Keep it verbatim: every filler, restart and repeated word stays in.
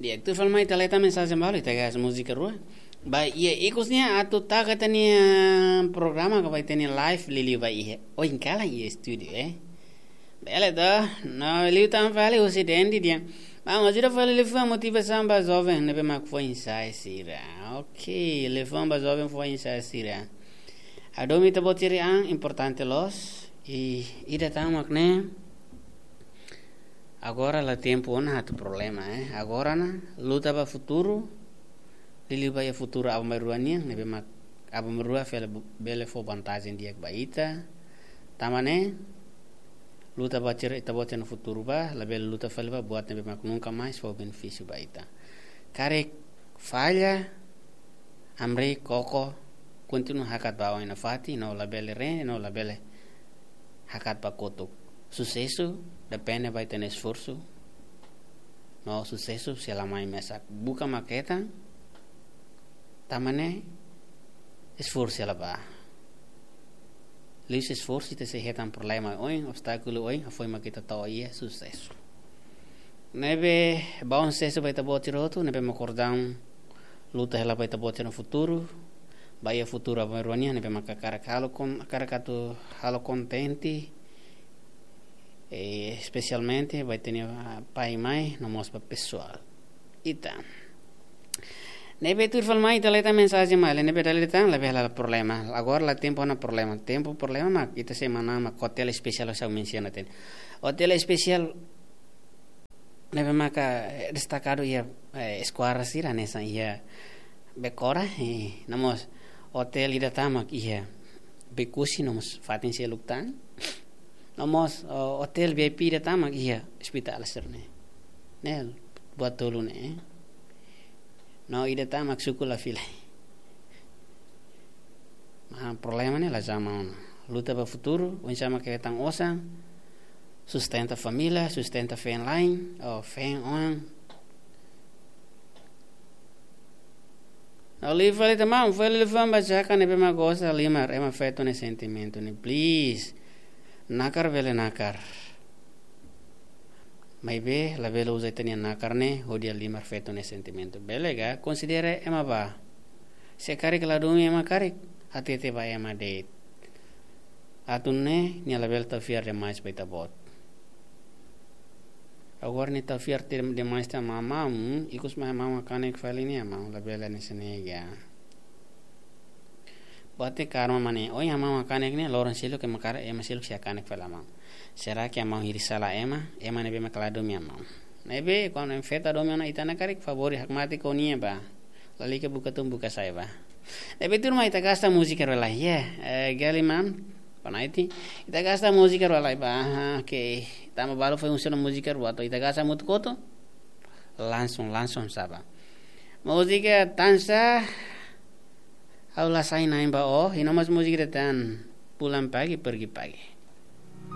Di'ak, tuir fali mai ita leta mensajen balu, ita gas múzika rua. Ba iha ikus ne'e atu taka ita-nia programa ka ba ita-nia live liuliu ba iha. Ohin kalan iha estúdiu, eh. Bele to, no liután fali husi Dendi dehan: Maun, ajuda fali liafuan motivasaun ba joven ne'ebé mak foin-sa'e sira. Ok, liafuan ba joven foin-sa'e sira. Hadomi ita-boot sira-nia an importante loos, i ida tan mak ne'e. Agora la tempu ona atu problema, eh. Agora ne'e luta ba futuru, liuliu ba iha futuru aban-bainrua nian, ne'ebé mak aban-bainrua fali be-, bele fó vantajen di'ak ba ita. Tanba ne'e, luta ba sira, ita-boot sira-nia futuru ba, labele luta fali ba buat ne'ebé mak nunka mais fó benefísiu ba ita. Karik falla, hamriik, koko, kontinua hakat ba oin nafatin, no labele rende, no labele hakat ba kotuk. Susesu depende ba ita-nia esforsu. No susesu sei la mai mesak. Buka mak hetan, tanba ne'e esforsu sei la bá. Liuhusi esforsu ita sei hetan problema oin, obstákulu oin, hafoin mak ita to'o iha susesu. Ne'ebé, bom susesu ba ita-boot sira hotu, ne'ebé mak kordaun luta hela ba ita-boot sira-nia futuru, ba iha futuru aban-bainrua nian, ne'ebé mak hakarak halo kon-, hakarak atu halo kontente, eh, espesialmente ba ita-nia, ah, pai, mai, no mós ba pesoál ita. Ne'ebé tuir fali mai ita leta mensajen mai, ne'ebé dala ida tan, labele la problema. Agora la tempu ona problema. Tempu problema mak ita sei manán mak hotel espesiál, ha'u mensiona tan. Hotel espesiál ne'ebé maka, eh, destakadu iha, eh, eskuadra sira hanesan iha Bekora, eh, no mós hotel ida tan mak iha Bekusi, no mós fatin seluk tan. No mós, oh, hotel V I P ida tan mak iha ospitál sira-ne'e. Ne'e buat tolu ne'e, eh. No ida tan mak suku la fila. Ah, problema ne'e la zama ona. Luta ba futuru, oinsá mak hetan osan, sustenta família, sustenta feen-la'en, ou feen-oan. No liu fali tan, maun, fali liafuan ba Jaka ne'ebé mak gosta halimar ema feto nia sentimentu ne'e, please. Nakar bele nakar. Maibé, labele uza ita-nia nakar ne'e hodi halimar feto nia sentimentu. Bele ka, konsidera ema bá. Se karik la domin ema karik, hatete ba ema de'it. Atu nune'e, nia labele tau fiar demais ba ita-boot. Agora nia tau fiar te-, demais tan ba maun, ikus mai maun hakanek fali nia, maun labele hanesan ne'e ka. Buat ne'e karma mak ne'e, ohin maun hakanek ne'e, loron seluk ema karik, ema seluk sei hakanek fali maun. Será que maun hili sala ema, ema ne'ebé mak la domin maun? Ne'ebé, kuandu ema feto la domin ona ita-nia karik, favór hakmatek ho nia bá. Lalika buka tun, buka sa'e bá. Ne'ebé tuirmai ita gasta múzika rua lai, yeah. Eh, Galiman, Panaiti. Ita gasta múzika rua lai bá. Aha, ok. Tanba balu foin uza ona múzika rua, entaun ita gasta hamutuk hotu. Langsung, langsung sá bá. Múzika tansá, ha'u la sai na'in ba ó, i no mós múzika ida tan, pulang pagi, pergi pagi.